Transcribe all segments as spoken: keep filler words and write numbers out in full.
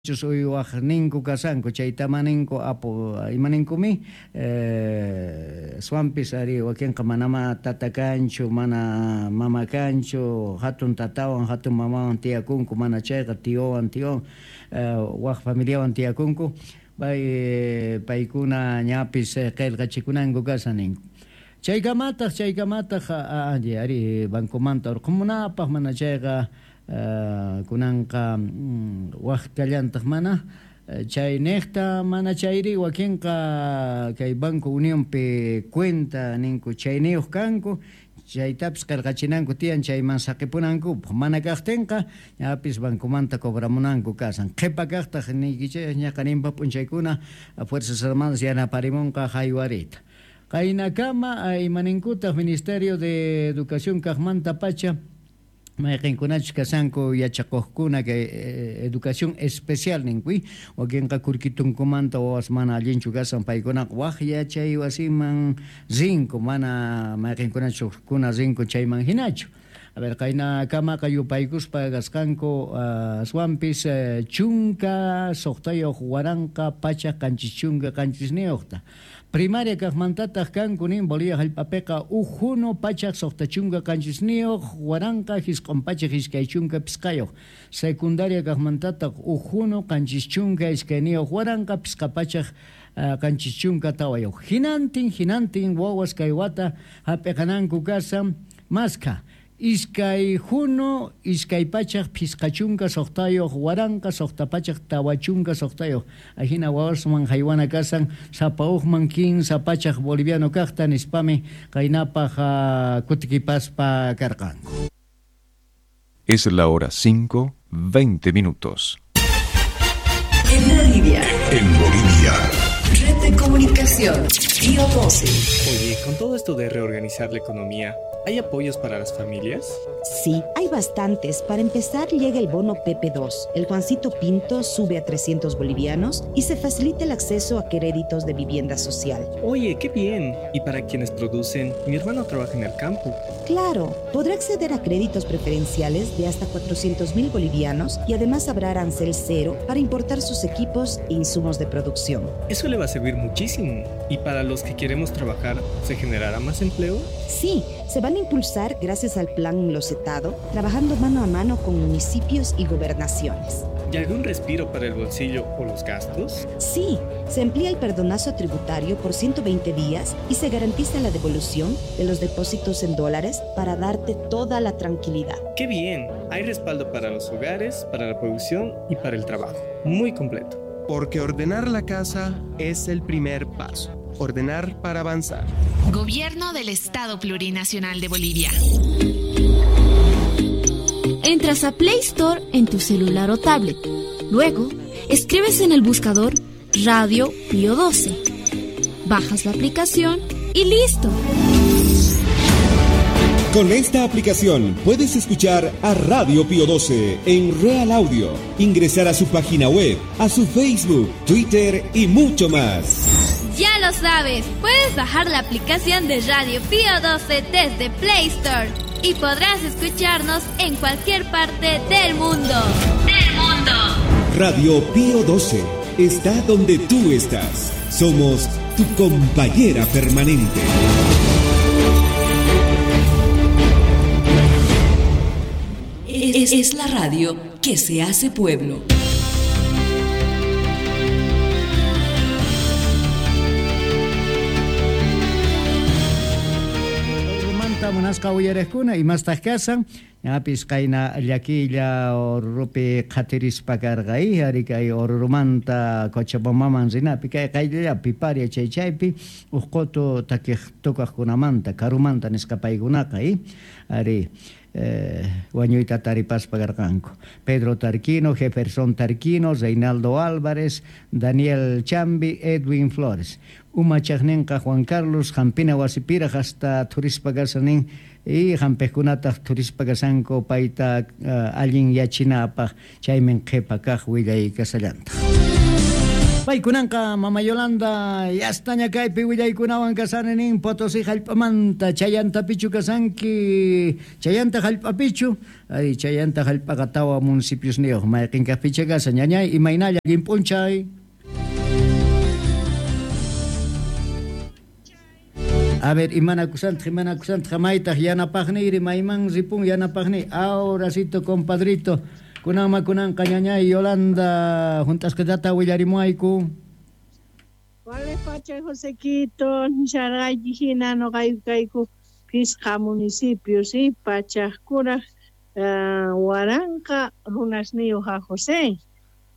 Uywaqninku kasanku chaytamaninku apu imaninkumi eh, swampis ari wakinqa manama tata kanchu mana mama kanchu hatun tatawan hatun mamawan tiyakunku mana chayqa tiowan tiowan eh, waq familiawan tiyakunku pay paykuna ñapis qillqachikunanku kasan ninku. Chaykamataq chaykamataq ari ari bancomanta urqumunapaq mana chayqa Uh, kunanqa mm, waq kallantaq mana chay niqta mana chayri wakinqa kay Banco Unionpi cuenta ninku chayniyuq kanku chaytapis qillqachinanku tiyan chayman saqipunankupaq mana kaqtinqa ñapis bancomanta cobramunanku kasan qhipa kaqtaq niykichik ñaqa ninpa p'unchaykuna Fuerzas Armadas yanaparimunqa haywarita qaynakama imaninkutaq Ministerio de Educación kaqmanta pacha mayqinkunachus kasanku yachakuqkuna kay educación especial ninkuy wakinqa kurkitunkumanta wawas mana allinchu kasan paykunaqa waq yachay wasiman rinku mana mayqinkunachus kuna rinku chayman hinachu. A ver, qaynakamaqa yupaykuspa kasqanku aswanpis chunka suqtayuq waranqa pachak qanchis chunka qanchisniyuqta. Primaria kaqmantataq kanku nin Bolivia hallp'apiqa uj hunu pachak suqta chunka qanchisniyuq waranqa jisq'un pachak iskay chunka pisqayuq. Secundaria kaqmantataq uj hunu qanchis chunka iskayniyuq waranqa pisqa pachak qanchis chunka tawayuq. Hinantin hinantin wawas kay wata hap'iqananku kasan maska. Iskay hunu iskay pachak pisqa chunka suqtayuq waranqa suqta pachak tawa chunka suqtayuq. Ajina wawasman haywana kasan sapa uqman kinsa pachak boliviano kaqta nispami qaynapaq kutikipaspa karqanku. Es la hora cinco, veinte minutos. En Bolivia. En Bolivia. Red de comunicación. Pío doce. Oye, con todo esto de reorganizar la economía, ¿hay apoyos para las familias? Sí, hay bastantes. Para empezar, llega el bono P P dos. El Juancito Pinto sube a trescientos bolivianos y se facilita el acceso a créditos de vivienda social. Oye, qué bien. ¿Y para quienes producen? Mi hermano trabaja en el campo. Claro, podrá acceder a créditos preferenciales de hasta cuatrocientos mil bolivianos y además habrá arancel cero para importar sus equipos e insumos de producción. Eso le va a servir muchísimo. ¿Y para los que queremos trabajar, se generará más empleo? Sí, se van a impulsar gracias al plan Enlosetado, trabajando mano a mano con municipios y gobernaciones. ¿Y algún respiro para el bolsillo o los gastos? Sí, se amplía el perdonazo tributario por ciento veinte días y se garantiza la devolución de los depósitos en dólares para darte toda la tranquilidad. ¡Qué bien! Hay respaldo para los hogares, para la producción y para el trabajo. Muy completo. Porque ordenar la casa es el primer paso. Ordenar para avanzar. Gobierno del Estado Plurinacional de Bolivia. Entras a Play Store en tu celular o tablet. Luego, escribes en el buscador Radio Pío doce. Bajas la aplicación y ¡listo! Con esta aplicación puedes escuchar a Radio Pío doce en Real Audio, ingresar a su página web, a su Facebook, Twitter y mucho más. Ya lo sabes, puedes bajar la aplicación de Radio Pío doce desde Play Store y podrás escucharnos en cualquier parte del mundo. ¡Del mundo! Radio Pío doce está donde tú estás. Somos tu compañera permanente. Es, es la radio que se hace pueblo. Munasqa uyariqkuna imastaq kasan ñapis qayna llakilla Orurupi qhatirispa karqa ari kay Orurumanta Cochabambaman rinapi kay qayllapi paria chay chaypi uj qutu takiq tukaqkunamanta karumanta nisqa paykunaqa ari Eh, wañuyta taripaspa karqanku Pedro Tarquino, Jefferson Tarquino, Reinaldo Álvarez, Daniel Chambi, Edwin Flores. Umachaqninqa Juan Carlos hampina wasipiraq hasta turispa kasanin y hampiqkunataq turispa kasanku payta uh, allin yachinapaq chaymin qhipa kaq willay kasallantaq. Paykunanqa Mama Yolanda yastaña kaypi willaykunawan kasani nin Potosí hallp'amanta chayantapichu kasanki chayanta hallp'apichu ay chayanta hallp'aqa tawa municipiosniyuq mayqin kaqpicha kasa ñañay imaynalla allin p'unchay. A ver, imanakusantaq imanakusantaq maytaq yanapaqniyri mayman ripun yanapaqniy ahoracito compadrito kunanma kunanqa ñañay Yolanda junt'asqitata willarimuayku. Wale pacha Josequito, nisharqayki hina nuqayku kayku phisqa municipio, sí, pachaqkuraq uh, waranqa runasniyuq a José.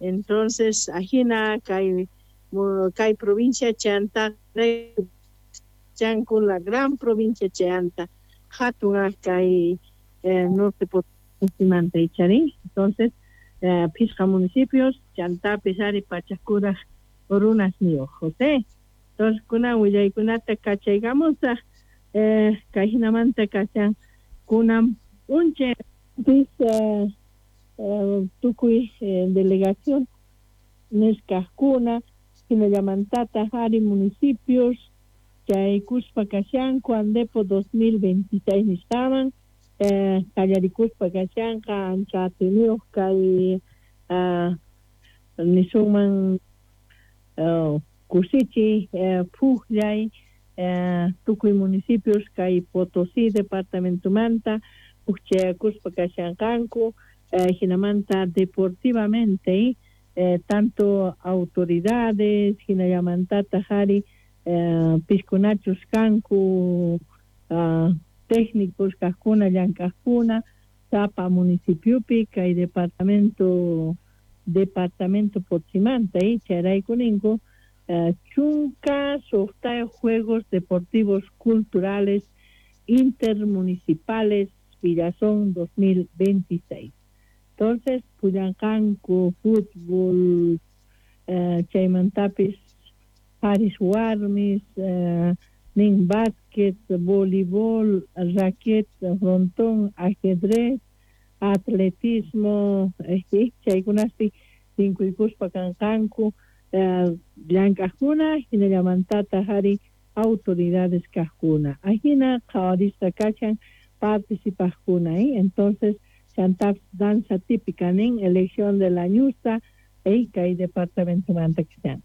Entonces, ajina kay kay provincia chanta chanku la gran provincia chanta hatun kay eh, norte Potosí ichari. Entonces, eh, phisqa municipios chantapis ari pachaqkuraq runasniyuq José. Entonces, kunan willaykunata kachaykamusaq eh, kay hinamanta kashan kunan p'unchay pis eh, eh, tukuy eh, delegación nisqaqkuna hinallamantataq ari municipios chaykuspa kashanku Andepo dos mil veintiséis nisqaman eh, qallarikuspa kashanqa ancha atiniyuq kay uh, nisunman uh, kusichi eh, pujllay eh, tukuy municipios kay Potosí departamentomanta ujchayakuspa kashanqanku eh, hinamanta deportivamente eh, tanto autoridades hinallamantataq ari eh, piskunachus kanku uh, técnicos kaqkuna llank'aqkuna sapa municipiopi kay departamento departamento Potosímanta eh, chayrayku ninku uh, chunka suqtayuq Juegos Deportivos Culturales Intermunicipales Villazón dos mil veintiséis. Entonces, pullanqanku fútbol, eh, chaymantapis haris warmis, eh, nin básquet, voleibol, raquet, frontón, ajedrez, atletismo, este, chaykunaspi tinkuykuspa kanqanku, eh, llank'aqkuna, hinallamantataq ari autoridades kaqkuna. Ajina qhawarisqa kashan participaqkuna, ¿eh? Entonces, chantap danza típica nin elección de la ñusta, eh, kay departamento manta kashan.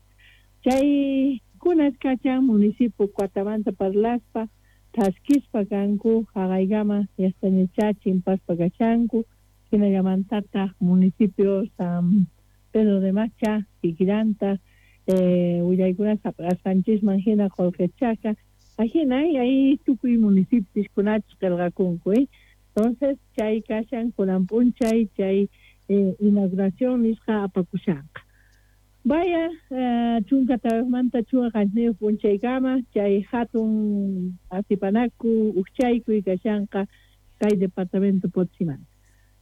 Chay kunas kachan municipio Cuatabanta parlaspa thaskispa kanku haqaykama yastañacha chimpaspa kashanku hinallamantataq municipio San Pedro de Macha kikillanta eh, willaykunas hap'asqanchisman hina qullqichaka ajina ahí tukuy municipios kunachus qillqakunku, eh. Entonces chay kashan kunan p'unchay chay eh, inauguración nisqa apakushanqa. Vaya, eh, chunka tawaqmanta chunka qanchis p'unchaykama chay hatun atipanaku ujchaykuy kashanqa kay departamento Potosímanta.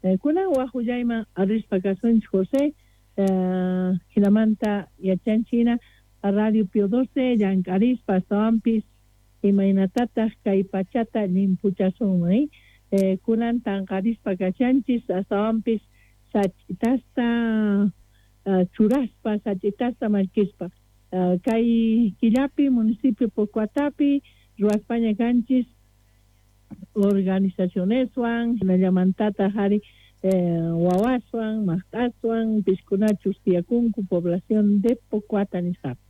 Eh, kunan waj willayman rispa kasunchik José, eh, hinamanta yachanchina Radio Pío doce llank'arispa astawanpis imaynatataq kay pachata llimpuchasunman, eh? Eh, kunan tanqarispa kashanchis astawanpis sach'itasta uh, churaspa sach'itasta mallkispa uh, kay killapi municipio Pocoatapi ruwaspaña kanchis organizacioneswan hinallamantataq ari eh, wawaswan maqt'aswan piskunachus tiyakunku población de Pocoata nisqapi.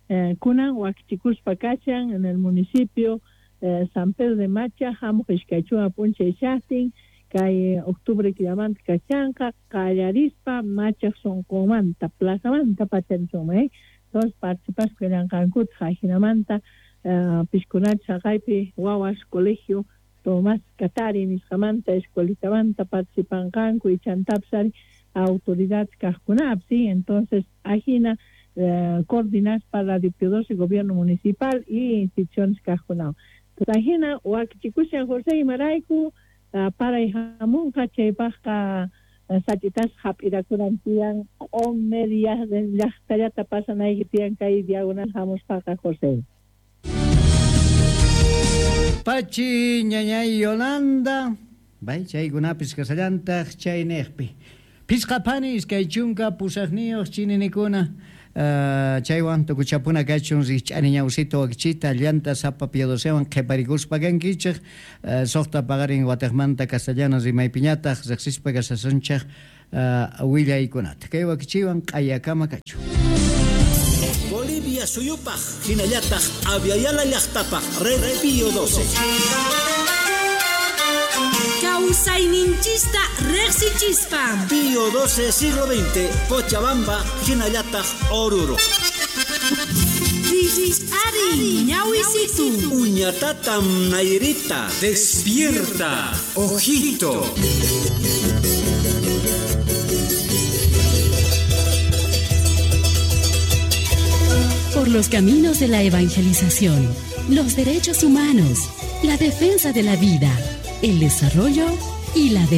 Eh, kunan wakichikuspa kashan en el municipio eh, San Pedro de Macha hamuq iskay chunka p'unchay shaqtin kay octubre killamanta kashanqa qallarispa Machaq sunqunmanta plazamanta pacharisunman, eh? Entonces participaspa kallanqankutaq ajinamanta uh, piskunachus haqaypi wawas colegio Tomás Katari nisqamanta escuelitamanta participanqanku y chantapis ari autoridades kaqkunapis, ¿sí? Entonces ajina eh, coordinaspa Radio Pío doce gobierno municipal y instituciones kaqkunawan. Entonces ajina wakichikushan José imarayku uh, paray hamunqa chaypaqqa uh, sach'itas hap'irakunan tiyan q'umer llaqtallata pasanayki tiyan kay diagonal hamuspaqa José. Pachi ñañay Yolanda, bay chaykunapis kasallantaq chayniqpi. Phisqa phani iskay chunka pusaqniyuq chininikuna uh, chaywan tukuchapuna kachun rikch'ani ñawsita wakichita llanta sapa Pío docewan qhiparikuspa kankichik uh, suqta paqarin wataqmanta castellano rimaypiñataq riqsispa kasasunchik uh, willaykunata kay wakichiwan q'ayakama kachun. Bolivia suyupaj hinallataq Aviala llaqtapaj Red Pío doce. Kawsayninchista riqsichispa. Pío doce siglo veinte, Cochabamba, hinallataq Oruro. Ari, ñawisitu. Uñatatam Nairita. Despierta, ojito. Por los caminos de la evangelización, los derechos humanos, la defensa de la vida, el desarrollo y la democracia.